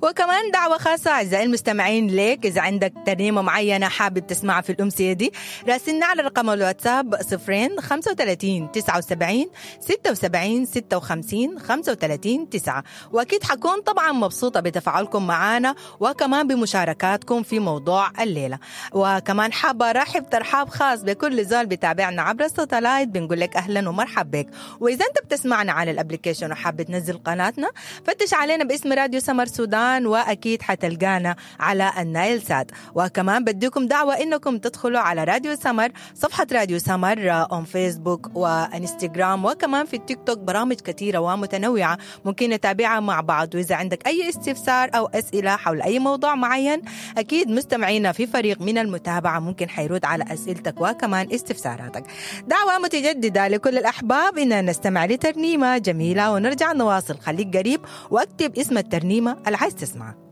وكمان دعوة خاصة أعزائي المستمعين ليك، إذا عندك ترنيمة معينة حابب تسمعها في الأمسية دي راسلنا على رقم الواتساب 0 35 79 76 56 35 9. وأكيد حكون طبعا مبسوطة بتفاعلكم معنا وكمان بمشاركاتكم في موضوع الليلة. وكمان حابة أرحب ترحاب خاص بكل زول بتابعنا عبر ال satellite، بنقول لك أهلا ومرحب بك. وإذا أنت بتسمعنا على ال application وحابة تنزل قناتنا فتش علينا باسم راديو سمر سودان، وأكيد حتلقانا على النايل سات. وكمان بديكم دعوة إنكم تدخلوا على راديو سمر، صفحة راديو سمر on فيسبوك وانستغرام وكمان في التيك توك، برامج كثيرة ومتنوعة ممكن نتابعها مع بعض. وإذا عندك أي استفسار أو أسئلة حول أي موضوع معين أكيد مستمعينا في فريق من المتابعة ممكن حيرد على أسئلتك وكمان استفساراتك. دعوة متجددة لكل الأحباب إن نستمع لترنيمة جميلة ونرجع نواصل. خليك قريب واكتب اسم الترنيمة اللي عايز تسمعها.